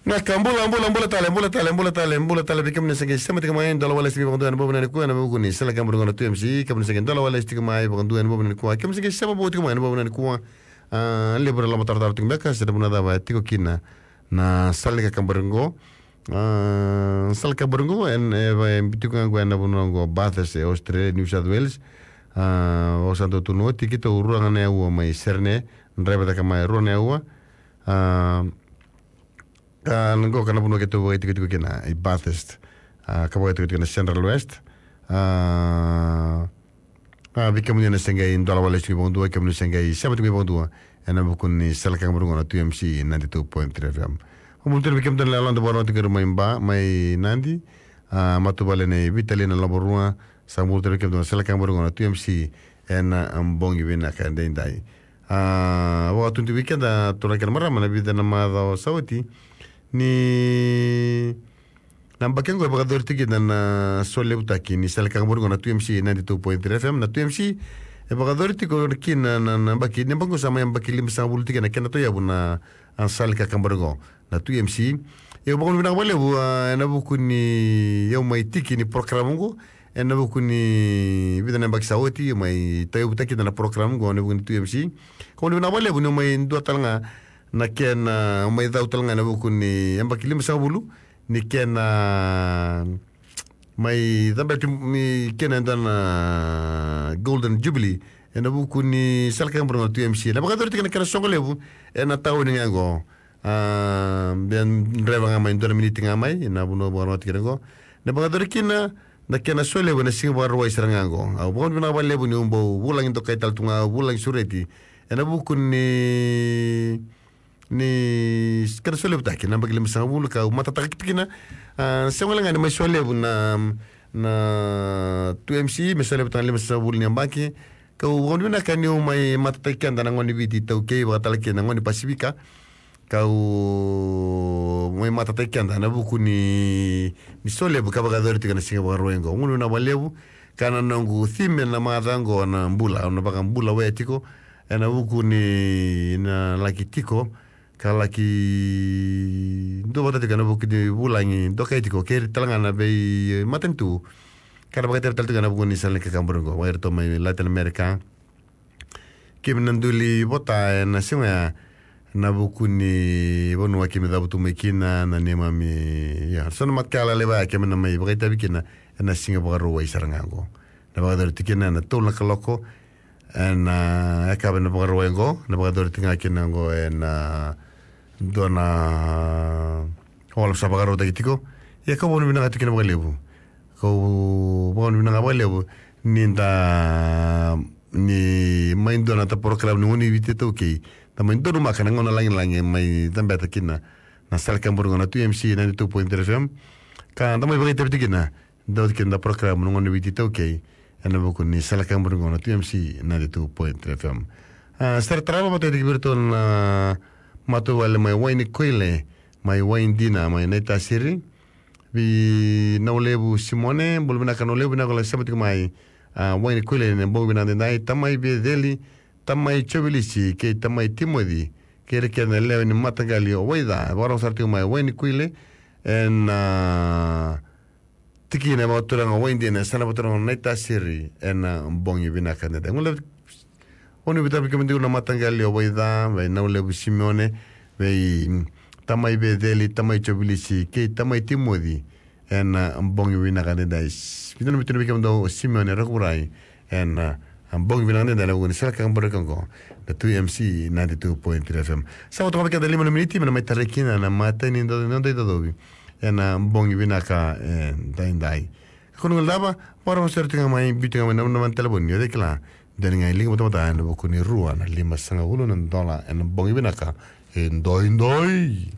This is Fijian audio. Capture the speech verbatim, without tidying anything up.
Na ka bula, bula, bula tale, bula tale, bula tale, bula tale, vei kemuni sa qai sema tiko mai, dola wale tiko mai vakadua ena bogi vinaka nikua, ena vuku ni sala ka bula qo na two M C, kemuni sa qai dola wale tiko mai vakadua ena bogi vinaka nikua, kemuni sa qai sema bula tiko mai ena bogi vinaka nikua. A, levu na loma tarotaro tiko beka, se na vuna cava e tiko kina na sala ni kakabari qo. A, sala kakabari qo, e, e, e, tiko ga qo ena vanua qo Bathurst, e Australia, New South Wales. A, au sa dau tukuna oti, keitou rua ga na aua mai Sydney, draiva cake mai rua na aua. A, A, na qo ka na vanua keitou vakaitikotiko kina, i Bathurst. A, ka vakaitikotiko kina Central West. A, a, vei kemuni na se qai dola wale tiko mai vakadua, kemuni se qai sema tiko mai vakadua. Ena vuku ni sala ka bula qo na two M C ninety-two point three F M. Au bula tale vei kemudou na yaloda vakarau tiko mai Ba, mai Nadi. A, matavuvale nei Vitali na Loborua. Sa bula tale vei kemudou na sala ka bula qo na two M C. Ena, a, bogi vinaka edaidai. A, vakatudui vei keda turaga kei na marama na vica na macawa sa oti. Ni na yabaki qo e vakayacori tiko kina na solevutaki ni sala ka bula qo na two M C ninety-two point three F M. Na two M C e vakayacori tiko kina na, na, na yabaki, ni yabaki qo sa mai yabaki limasagavulu tiko na kena tauyavu na, a, sala ka bula qo na two M C. Au vakavinavinaka vakalevu, a, ena vuku ni au mai tiki ni program qo, ena vuku ni vica na yabaki sa oti, au mai tauyavutaki kina na program qo ena vuku ni two M C. Ka vakavinavinaka vakalevu ni au mai dua tale ga na kena, au mai cau tale ga ena vuku ni yabaki limasagavulu ni kena mai cabeti ni kena e dua na Golden Jubilee ena vuku ni sala ka bula qo na two M C. Na vakayacori tiko na kena soqo levu ena tauni ga qo. A, bea draiva ga mai dua na miniti ga mai, na vanua vakarogotaki kina qo. Na vakayacori kina na kena solevu ena siga Vakarauwai sara ga qo. Au vakavinavinaka vakalevu niu bau vulagi dokai tale tu ga, vulagi sureti. Ena vuku ni, ni kena solevutaki na yabaki limasagavulu, kau matataka tiko kina. A, sega wale ga ni mai solevu na, na two M C, me solevutaka na limasagavulu ni yabaki. Kau vakavinavinaka niu mai matataki keda na gone ni Viti iTaukei, vakatale kei na gone ni Pasifika. Kau mai matataki keda ena vuku ni, ni solevu ka vakayacori tiko ena siga Vakarauwai qo. Vakavinavinaka vakalevu, ka na noqu theme ena macawa qo na bula, au na vakabula wale tiko, ena vuku ni na laki tiko, ka laki duavata tiko ena vuku ni vulagi dokai tiko kei ira tale ga na veimatanitu. Ka na vakaitavi tale tiko ena vuku ni sala ni kakaburi qo, vei iratou mai Latin America. Keimami na dui vota ena siga ya, ena vuku ni vanua keimami cavutu mai kina, na neimami, ia, so na mataqali laiva ya keimami na mai vakaitavi kina ena siga Vakarauwai sara ga qo. Na vakayacori tiko kina ena tolu na kaloko ena, a, yakavi ena Vakarauwai qo, na vakayacori tiko ga kina qo ena, a, dua na hall sa vakarautaki tiko. Ia kau vakavinavinaka tiko kina vakalevu. Kau vakavinavinaka vakalevu ni da, ni mai dua na ta program ni gone ni Viti iTaukei. Da mai donumaka na gauna lagilagi mai cabeta kina na sala kaburi qo na two M C ninety-two point three F M. Ka da mai vakaitavi tiko kina, dau tiko kina na program ni gone ni Viti iTaukei ena vuku ni sala kaburi qo na two M C ninety-two point three F M. A, sere tarava, vakataki vei iratou na matavuvale mai Wainikoile, mai Waidina, mai Naitasiri. Vei Naulevu Simone, bula vinaka Naulevu, vinaka o lai sema tiko mai, a, Wainikoile ena bogi vinaka edaidai. Tamai Veceli, Tamai Jovilisi kei Tamai Timoci, kei ira kece na lewe ni mataqali o Waica, e vakarogo sara tiko mai Wainikoile ena, a, tikina e vakaturaga o Waidina, e sa na vakaturaga o Naitasiri ena bogi vinaka edaidai. Gole, o ni vita vei kemudou na mataqali o Waica, vei Naulevu Simione, vei, mm, Tamai Veceli, Tamai Jovilisi kei Tamai Timoci ena, a, bogi vinaka edaidai. Vei na, vei na, vei kemudou o Simione Rakurai ena, a, a, bogi vinaka edaidai ena vuku ni sala kaburi qo na two M C ninety-two point three F M. Sa vo toka vei keda lima na miniti me na mai tarai kina na matai ni noda, noda icocovi ena bogi vinaka edaidai. Ka kua ni guilecava, vakarorogo sara tiko ga mai, biu tiko ga mai na, na, na telefoni, o cei kila, dua ni ga e liga batabata ena vuku ni rua na limasagavulu na dola ena bogi vinaka edaidai.